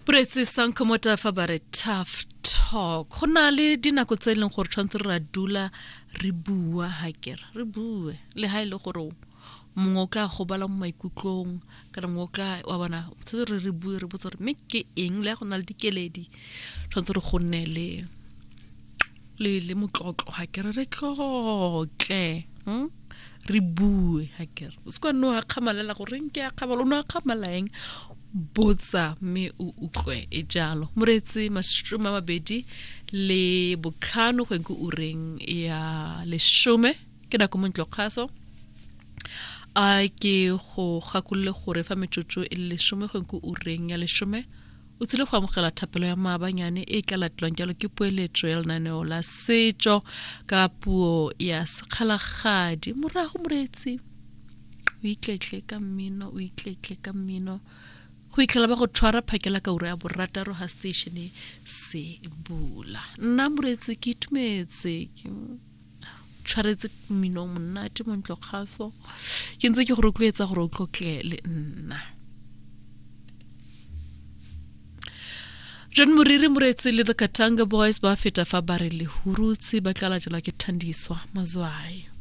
Boretsi Sankomota fa ba re tough talk. Go na le dinako tse e leng gore tshwanetse re ra dula re bua ha kere re bue le ha e le gore mongwe o tla gobala mo maikutlong kana mongwe o tla wa bona tshwanetse re re bue re botse gore mme ke eng le go na le dikeledi tshwanetse re go nne le le le motlotlo ga kere re tlotle hmm? re bue ga kere o se kwa nne o akgamalela gore nke akgamala o ne akgamala eng botsa mme o utlwe e jalo moreetsi 25 go ke ureng ya leshome ke nako mo ntlo kgaso a ke go gakolole gore fa metsotso e le leshome go ke ureng ya leshome o tsile go amogela thapelo ya maabanyane e tla latelwang jalo ke poeletso ya lenaneo la setso ka puo ya sekgalagadi morago moreetsi o itletle ka mmino o itletle ka mmino go itlhela ba go tshwara phakela ka ura ya borataro ga station se bula nna moreetsi ke itumetse tshwaretse mmino o monate mo ntlo kgaso ke ntse ke go rotloetsa gore o tlotle le nna John Moriri Moretsi le the Katanga Boys ba feta fa ba re lehurutse ba tla latelwa ke Thandiswa Mazwai.